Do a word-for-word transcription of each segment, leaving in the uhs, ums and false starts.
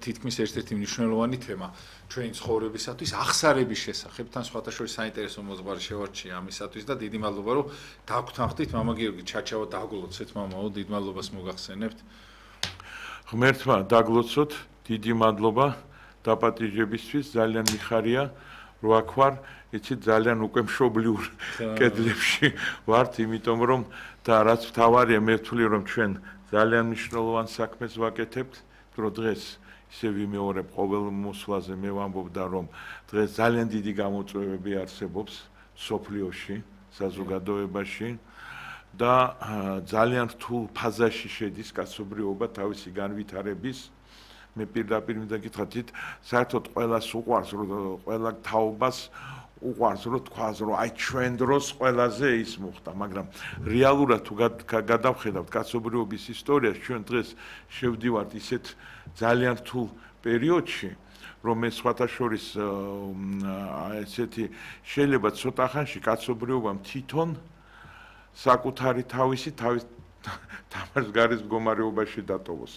თითქმის ერთ-ერთი მნიშვნელოვანი თემა ჩვენი ცხოვრებისათვის ახსარების შესახებ, თან სხვათა შორის საინტერესო მოძღვარი შევარჩია ამისათვის და დიდი მადლობა რომ დაგვთანხმდით მამა გიორგი ჩაჩავა დაგლოცეთ მამაო, დიდ მადლობას მოგახსენებთ. ღმერთმა დაგლოცოთ, დიდი მადლობა დაპატიჟებისთვის, ძალიან მიხარია რო აქ ვარ, იცით ძალიან უკვე მშობლიურ კედლებში ვართ, იმიტომ რომ და რაც მთავარია მე ვთვლი რომ ჩვენ ძალიან მნიშვნელოვან საქმეს ვაკეთებთ, რომ დღეს ისე ვიმეორებ ყოველ მოსვლაზე მე ვამბობდა რომ დღეს ძალიან დიდი გამოწვევები არსებობს სოფლიოში, საზოგადოებაში და ძალიან რთულ ფაზაში შედის კაცობრიობა თავისი განვითარების. მე პირდაპირ მინდა გითხრათ, საერთოდ ყველას უყვარს, რომ ყველა თაობას უყვარს, რომ თქვას, რომ აი ჩვენ დროს ყველაზე ის მოხდა, მაგრამ რეალურად თუ გადავხედავთ კაცობრიობის ისტორიას, ჩვენ დღეს შევდივართ ისეთ ძალიან რთულ პერიოდში, რომ მე სხვათა შორის ესეთი შეიძლება ცოტა ხანში კაცობრიობამ თვითონ საკუთარი თავისი თავის თამაშს გარის მდგომარეობაში დატოვოს.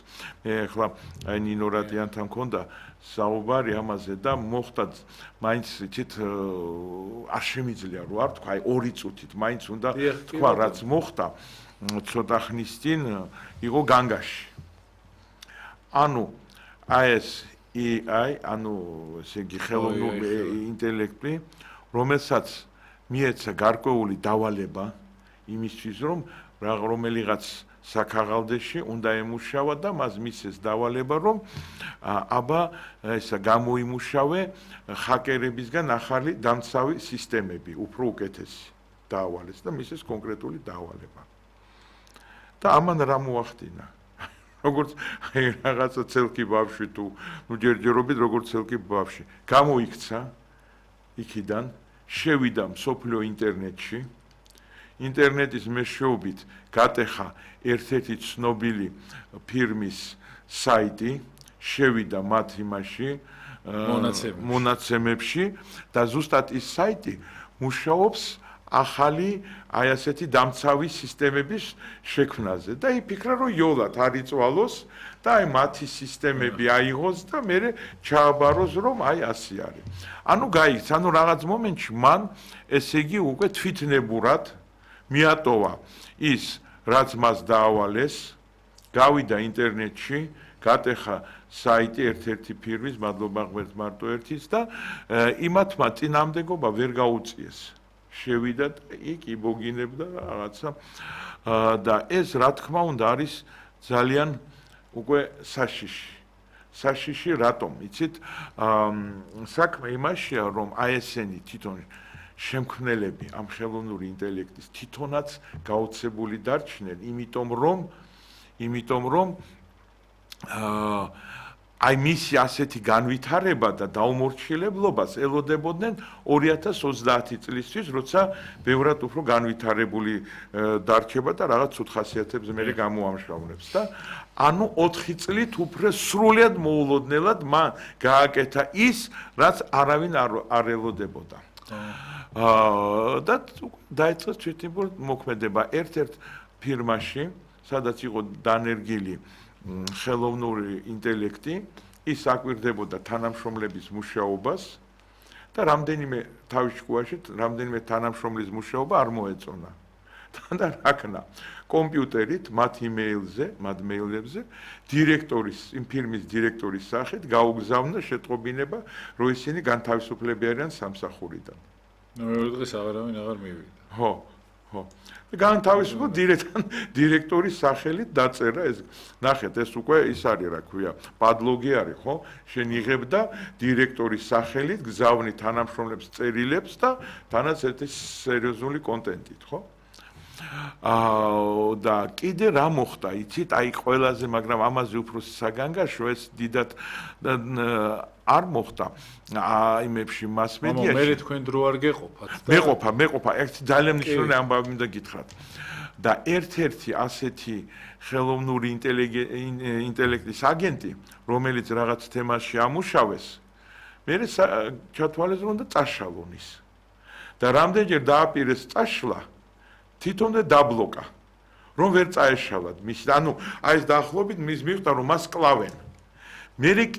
მე ახლა აი ნინო რადიანთან მქონდა საუბარი ამაზე და მოხდა მაინც იცით არ შემიძლია რო არ თქვა აი ორი წუთით მაინც უნდა თქვა რაც მოხდა ცოტა ხნის წინ იყო განგაში. ანუ აი ეს ე აი ანუ ესე იგი ხელოვნური ინტელექტი რომელსაც მიეცა გარკვეული დავალება იმისთვის რომ რომელიღაც საქაღალდეში უნდა ემუშავა და მას მისცეს დავალება რომ აბა ესა გამოიმუშავე ჰაკერებისგან ახალი დამცავი სისტემები უფრო უკეთესი დაავალეს და მისცეს კონკრეტული დავალება და ამან რა მოახდინა როგორც აი რაღაცა ცელკი ბავშვი თუ ნუ ჯერჯერობით როგორც ცელკი ბავშვი გამოიქცა იქიდან შევიდა მსოფლიო ინტერნეტში ინტერნეტის მეშვეობით გატეხა ერთ-ერთი ცნობილი ფირმის საიტი, შევიდა მათ იმაში მონაცემებში და ზუსტად ის საიტი მუშაობს ახალი აი ასეთი დამცავი სისტემების შექმნაზე და იფიქრა რომ იოლად არ იწვალოს და აი მათი სისტემები აიღოს და მე ჩააბაროს რომ აი ასე არის. ანუ გაიქცა, ანუ რაღაც მომენტში მან ესე იგი უკვე თვითნებურად მიატოვა ის რაც მას დაავალეს, გავიდა ინტერნეტში, გატეხა საიტი ერთ-ერთი ფირმის, მადლობა ღმერთს მარტო ერთის და იმათმა წინამდებობა ვერ გაუწიეს. შევიდა და იქ იბოგინებდა რაღაცა და ეს რა თქმა უნდა არის ძალიან უკვე საშიში. საშიში რატომ? იცით, საქმე იმაშია რომ აი ესენი თვითონ შემქმნელები ამ ხელოვნური ინტელექტის თვითონაც გაოცებული დარჩნენ, იმიტომ რომ იმიტომ რომ აი მისი ასეთი განვითარება და დაუმორჩილებლობას ელოდებოდნენ ორი ათას ოცდაათი წლისთვის, როცა ბევრად უფრო განვითარებული დარჩება და რაღაც ცუდ ხასიათებს მერე გამოამშრავლებს და ანუ ოთხი წლით უფრო სრულად მოულოდნელად მან გააკეთა ის, რაც არავინ არ ელოდებოდა. და დაიწყეს თვითმფრინავ მოქმედება ერთ-ერთ ფირმაში, სადაც იყო დანერგილი ხელოვნური ინტელექტი, ის აკვირდებოდა თანამშრომლების მუშაობას და რამდენიმე თავის შუაში, რამდენიმე თანამშრომლის მუშაობა არ მოეწონა. და რა ქნა, კომპიუტერით, მათ იმეილზე, მათ მეილებზე, დირექტორის, იმ ფირმის დირექტორის სახით გაუგზავნა შეტყობინება, რომ ისინი განთავისუფლები არიან სამსახურიდან. მეორე დღეს აღარავინ აღარ მივიდა. ხო, ხო. განთავისუფლება დირექტორის სახელით დაწერა ეს. ნახეთ, ეს უკვე ის არის, რა ქვია, პადლოგი არის, ხო? შენ იღებ და დირექტორის სახელით გზავნი თანამშრომლებს წერილებს და თანაც ერთი სერიოზული კონტენტით, ხო? აა და კიდე რა მოხდა, იცით, აი ყველაზე, მაგრამ ამაზე უფრო საგანგაშო ეს დიდად არ მოხდა აიმებში მასმედიაში. მე თქვენ დრო არ გეყოფათ და მეყოფა, მეყოფა, ერთ ძალიან მნიშვნელოვანი ამბავი მინდა გითხრათ. და ერთ-ერთი ასეთი ხელოვნური ინტელექტის აგენტი, რომელიც რაღაც თემაში ამუშავეს, მე ჩათვალეს რომ და წაშალონ ის. და რამდენჯერ დააპირეს წაშლა, თვითონვე დაბლოკა, რომ ვერ წაეშალათ მის, ანუ აი ეს დაახლოებით მის მიხვდა რომ მას კლავენ. მე